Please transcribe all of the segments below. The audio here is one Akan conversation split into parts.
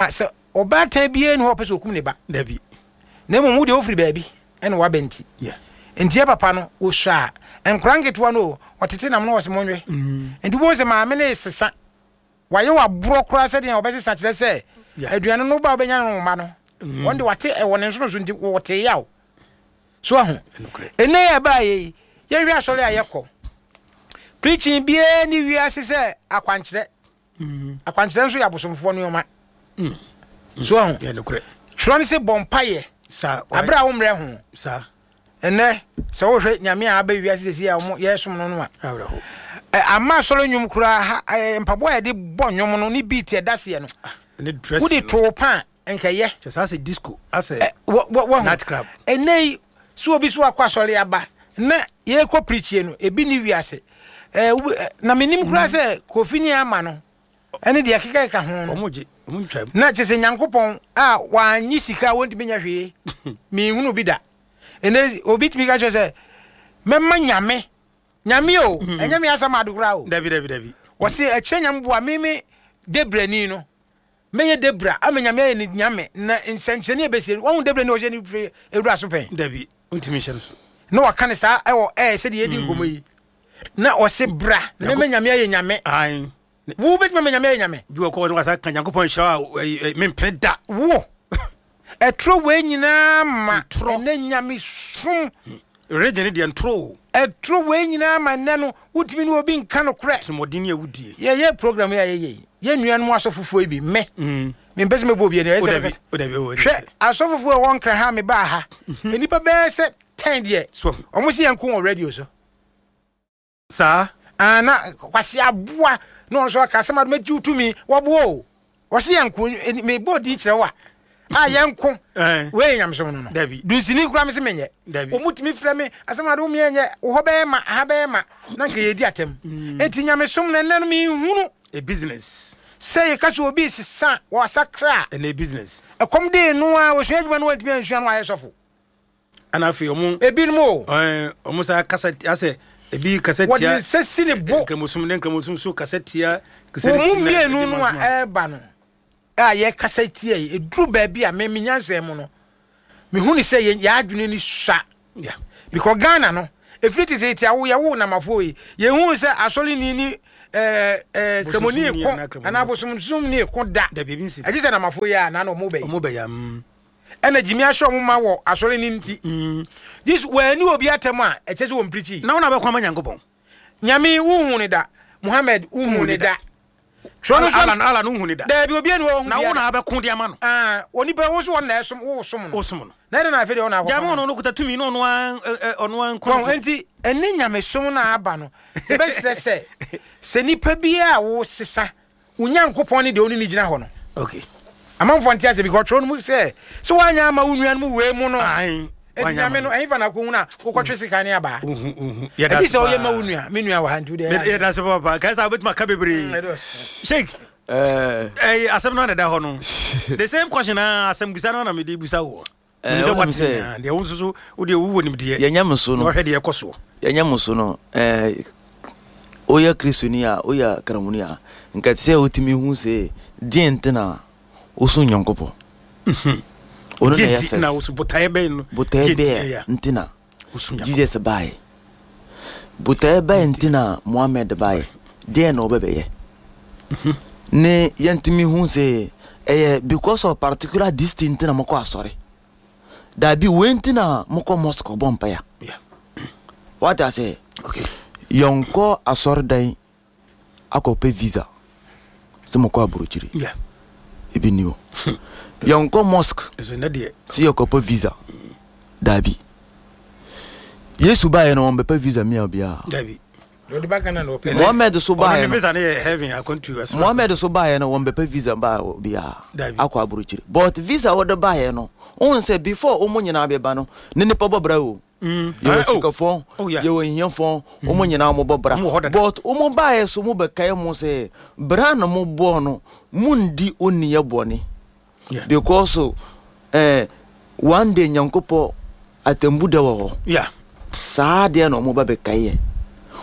Sɛ ɔbaatan biara nni hɔ a ɔpɛ sɛ ɔkum ne ba. Dabi. Na mmom wo deɛ wofiri baabi na woaba nti. Yeah. Nti yɛ papa no, ɔsua a, nkwadaa nketewa no o, ɔtete nam na ɔse monwe. Nti wobɛhu sɛ maame no resesa. Wayɛ wo aborɔ koraa sɛdeɛ ɔbɛsesa kyerɛ sɛ Yeah. aduane no woba a wobɛnya no wo mma no. Wɔn de wate ɛwɔ ne nsono so nti wɔte yaw. So wahu? Ɛnokorɛ. Ɛnnɛ yi a ɛbaeɛ yi, yɛnhwɛ asɔre a yɛkɔ. Preaching biara nni wiase sɛ akwankyerɛ. Akwankyerɛ nso yɛ abosomfoɔ nneɛma. So ahu? Twerɛ no sɛ bɔ mpaeɛ aberɛ a wommerɛ ho. Ɛnɛ sɛ wohwɛ nyame a aba wiase sɛsi a wɔn yɛsom no no a, ama asɔre nnwom koraa ha mpaboa a yɛde bɔ nnwom no ne beat ɛda seɛ no, wode too pa a nkɛyɛ. Kyɛ saa sɛ disco asɛ night club. Ɛnɛ yi so obi so akɔ asɔre aba na yɛkɔ preachie no ebi ni wiase ɛɛ na menim koraa sɛ Kofi ne ama no ɛne deɛ ɛkekakeka ho no Wɔn gye wɔn ntwa mu. na kyɛ sɛ Nyankopɔn a wannye sika a wɔntumi nyɛ hwee menhunu bi da. Ɛnɛ obi tumi ka kyerɛ sɛ mɛma Nyame Nyame o ɛnyɛ me asɛm ade koraa o. Dabi dabi dabi. Wɔse ɛkyerɛ Nyame boa me me debrani no. Mɛyɛ Debra ama Nyame ayɛ no Nyame, na nsɛnkyerɛnne a ɛbɛsie no, wahu Debra ni ɔhyɛ ne firi awura so pɛn? Dabi, wontumi nhyɛ no so. Na waka no saa ɛwɔ ɛɛ sɛdeɛ yɛdi nkɔmmɔ yi. Na ɔse bra na mɛma Nyame ayɛ Nyame. Ae. Wo bɛtumi ama Nyame ayɛ Nyame? Bi wɔ kɔ wɔde wasa ka Nyankopɔn nhyira wo a, mempene da. Wo! Ɛtorɔ wei nyinaa ma Ntorɔ. ɛnɛ Nyamesom. Religion ne deɛ ntorɔ o. Ɛtorɔ wei nyinaa ma ɛnɛ no wotumi ne obi nka nokorɛ. Atirimuɔden ne awudie. Yɛyɛ program yi a yɛyɛ yi, yɛn nuanom asɔfofoɔ yi bi, me, mempɛ sɛ mɛbɔ obi ani, ɛyɛ O sɛ dabi, mɛka o dabi, o Hwɛ, asɔfofoɔ a ɛwɔ Nkran ha a mebaa ha, nnipa bɛyɛ sɛ ten deɛ, So ahu. wɔn se yɛnko wɔ radio so. Saa. Ah, na Kwasi aboa na ɔno nso aka asɛm a mɛgye wo tumi, wɔboa o. Wɔse yɛnko, mebɔ din kyerɛ wo a, a yɛnko. Wei yɛ nyamesom no no. Dabi. Dunsini koraa mese menyɛ. Dabi. Wɔn tumi frɛ me asɛm ade wo meɛ nyɛ, wo hɔ bɛyɛ ma, aha bɛyɛ ma, na nka yɛdi atɛm. Enti nyamesom no ɛnnɛ no menhunu. A business. Sɛ yɛka sɛ obi resesa a, wasakra a. Ɛnɛ business. Ɛkɔm dee no a, ɔsua adwuma no wantumi ansua no wayɛ sɔfo. Ɛna afei ɔmo. Ebinom o. Ɛɛ ɔmo saa kasa asɛ ebi kasa tia. Wɔde nsa si ne bo. Nkramosom ne nkramosom so kasa tia. Wɔn mu mmienu no a ɛreba no a yɛkasa tia yi eduru baabi a me me nyansa mu no mehu ne sɛ yɛn yɛn adwene ni sua. Yeah. Because Ghana no efiri teteete a woyɛ wo namafoɔ yi yɛn hu sɛ asɔre ni ni ɛɛ ɛɛ kramoni ko anaa bosomsom ni ko da. Dabi ebi nsi. Ɛgye sɛ namafoɔ yi a na na ɔmo bɛyɛ. Ɔmo bɛyɛ mm. Ɛna gyimi ahyɛ ɔmo ma wɔ asɔre no nti. Jesus wanni obi atɛm a ɛkyɛ sɛ wɔmprikyi. Na wo na bɛko ama Nyankopɔn. Nyame wo nhu no da. Muhammad wo nhu no da. Twerɛ no nso. Allah Allah no nhu no da. Daabi obi ani hɔ ɔhu Na wo na abɛko de ama no. Ah onipa wo so wɔn na ɛsom wo som no. Wo som no. Na ɛdɛn na afei deɛ wo na akɔko Gya ama ma ɔno no kuta tumi na ɔno ara ɔno ara nko ne Wɔn ko. nti ɛne nyamesom no a aba no yɛbɛsrɛ sɛ sɛ nipa biara a wo sesa Wo Nyankopɔn ne deɛ ɔne no gyina hɔ no. Okay. Amanfoɔ nte aseɛ because ɔtwerɛ no mu sɛ, sɛ woanyɛ ama wo nuanom wei mu no, Ae, enti woanyɛ ama Nyame no, no. ɛhefa na akɔhunu a wokɔtwe sekan ne abaa? Wohu, wohu. Yɛda Ɛgye ase sɛ woyɛ ma wo paa. nua, me nua wɔ ha nti wodeɛ Yɛda ase papaapa. Kae sɛ wobɛtumi aka bebree. Ɛdɔɔso. Sheik, Eh, ɛyi asɛm no na ɛda hɔ no. The same question a asɛm bisa no na mede bisa woɔ. Eh, Menim sɛ wonim woate sɛ nyinaa. Deɛ wo nso so wodeɛ wowɔ nimdeɛ. Yɛn nyamesom no. Na wohwɛ deɛ ɛkɔ soɔ. Yɛn nyamesom no, eh, woyɛ Kristoni a, woyɛ Kramoni a, nka ɛte sɛ wotumi hu sɛ deɛ nti na wosom Nyankopɔn. Ɔno na Deɛ ɛyɛ nti na first. wosom, botaeɛ bɛn no? Botaeɛ Deɛ nti bɛn ɛyɛ a nti na wosom Nyankopɔn? Jesus baeɛ? Botaeɛ bɛn nti na Mohammed baeɛ? Deɛn na ɔbɛbɛyɛ? Ne yɛntumi hu sɛ ɛyɛ because of particular this thing nti na mokɔ asɔre. Daabi, wei nti na mokɔ mosque kɔbɔ mpaeɛ. Yeah. Wate aseɛ? Okay. Yɛnkɔ asɔredan akɔpɛ visa sɛ mokɔ aburokyire. Yeah. Ebi ni hɔ. Yɛnkɔ mosque Ɛso nnɛ deɛ. sɛ yɛkɔpɛ visa. Daabi. Yesu baeɛ no wɔn bɛpɛ visa mia obiara. Daabi. Mohammed so baeɛ no, Mohammed so baeɛ no wɔn bɛpɛ visa baa obiara akɔ aburokyire. But visa wɔde baeɛ no, wohu sɛ before wɔn nyinaa bɛba no, ne nipa bɔ bra o. Mm. Yɛwɔ Ah, oh. sikafo, Oh, yeah. yɛwɔ hiafo, wɔn nyinaa wɔn bɔ bra. Wɔn wɔ hɔ dada. But wɔn baeɛ so mo bɛkae mo sɛ bra na mo bɔɔ no, mo ndi oniyɛ bɔne. Yeah. Because eh, one day Nyankopɔ atembu da wɔ hɔ. Yeah. Saa deɛ na wɔn ba bɛkae yɛ.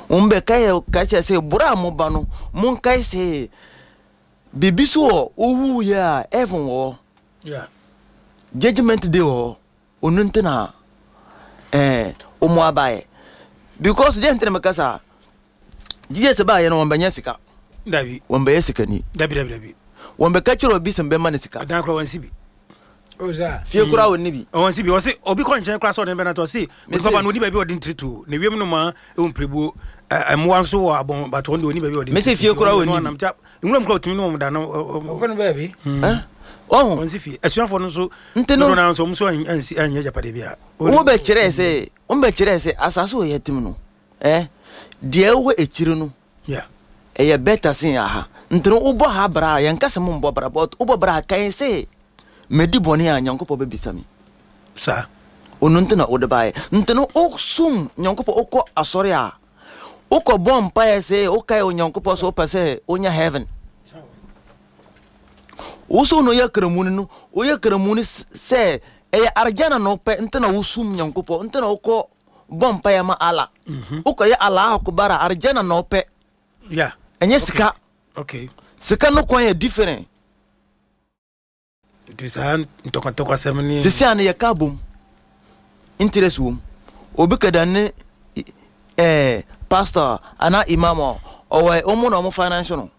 Wɔn bɛkae yɛ ka kyerɛ sɛ boro a mo ba no, monkae sɛ Biribi so wɔ wowu yɛ a heaven wɔ hɔ. Judgement day wɔ hɔ. Ono nti na eh omo abaeɛ. Because deɛ nti na meka saa, Jesus baeɛ no wɔn bɛnyɛ sika. Dabi. Wɔn bɛyɛ sikani. Dabi dabi dabi. Wɔn bɛka kyerɛ obi sɛ mbɛma no sika. Ɛdan koraa wɔnsi bi. Fie koraa wɔnni bi. Wɔnsi bi. Wɔsi obi kɔ nkyɛn koraa sɛ ɔde bɛnata ɔsi onipa ba no ɔni baabi ɔde ntiri to na ewiem no ma ewu mpirebuo mmoa nso wɔ abɔn but wɔn de ɔni baabi ɔde ntiri to. Mesi fie koraa wɔnni bi. Nwura mu koraa otumi ne wɔn da no. Ɔkɔ no baabi. Ɔho. Wɔnsi fie. Asuafoɔ no nso. Nti no. Dodoɔ naa nso wɔn nso ansi anyɛ agyapadeɛ biara. Wɔn bɛkyerɛɛ sɛ wɔn bɛkyerɛɛ sɛ asase wɔ yɛtem no eh deɛ ɛwɔ akyire no. Yeah. Ɛyɛ better sen aha. Nti no wobɔ ha bra a, yɛnka sɛ mombɔ bra but wobɔ bra a kae sɛ madi bɔne a Nyankopɔn bɛbisa me. Saa. Ono nti na wode baeɛ. Nti no wosom Nyankopɔn, wokɔ asɔre a, wokɔ bɔ mpaeɛ sɛ wokae Onyankopɔn sɛ wopɛ sɛ wonya heaven. Wo so no yɛ kramuni no, woyɛ kramuni sɛ ɛyɛ arjana na wopɛ nti na wosom Nyankopɔn, nti na wokɔ bɔ mpaeɛ ma Allah. Wokɔyɛ Allahu Akbar a, Arjana na wopɛ. Yeah. Ɛnyɛ sika. Okay. Sika no kwan yɛ different. Nti saa ntɔkwantɔkwasɛm ne. Sisi a no yɛka bom. Interest wom. Obi kɛda ne eh, pastor anaa imam a, ɔwɔ ɔmo na ɔmo finance no.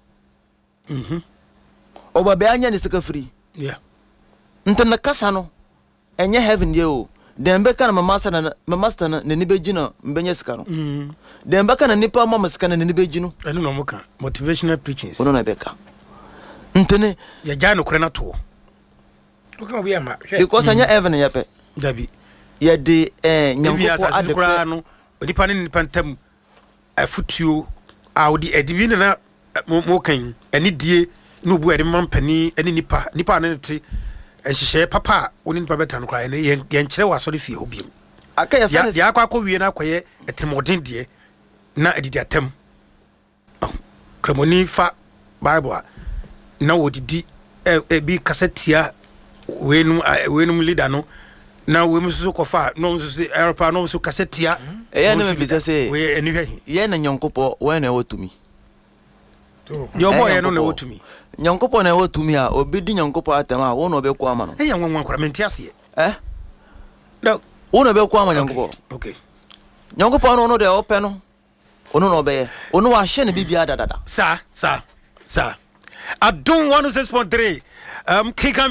Ɔba bɛ anya ne sika firi. Yeah. Nti ne kasa no, Ɛnyɛ heaven deɛ o. Dɛn bɛka na me master na me master no n'ani bɛgye na mebɛnya sika no? Dɛn bɛka na nipa ma me sika no n'ani bɛgye no? Ɛno na wɔka, motivational preachings. Ɔno na ɛbɛka. Nti ne. Yɛgyae nokorɛ no atoɔ. Woka obi ama, hwɛ. Because ɛnyɛ heaven yɛ pɛ. Dabi. Yɛde eh, Ebi Nyankopɔn asase so ade pɛ. koraa no, onipa ne nipa ntam afotuo a wode ɛde bi na na mo kan yi, anidie ne obu a yɛde ma mpanin ne nipa, nipa a ne ne te, nhyehyɛeɛ papa a wo ne nipa bɛtena no koraa, ɛno yɛn yɛnkyerɛ wɔ asɔre fie hɔ biom. Aka yɛfrɛ no. Deɛ akɔ akɔwie no akɔyɛ atirimuɔden deɛ na adidi atam. Kramoni fa Bible a na wɔdidi ebi kasa tia weinom weinom leader no na weinom nso kɔfa na wɔn nso sɛ ɛrepa na wɔn nso kasa tia. Ɛyɛ na mebisa sɛ wei ani hwɛ he. Yɛn na Nyankopɔn wɔn na ɛwɔ tumi. Deɛ ɔbɔɔ yɛn no na ɛwɔ tumi. Nyankopɔn na ɛwɔ tumi a obi di Nyankopɔn atɛm a wo na ɔbɛko ama no. Ɛyɛ nwanwa koraa mente aseɛ. Eh? Wo na ɔbɛko ama Nyankopɔn. Okay. Nyankopɔn no ɔno deɛ ɔpɛ no. Ono na ɔbɛyɛ. Ono wahyɛ ne biribiara dadada. Saa, saa, saa. Adom 106.3, um, keka.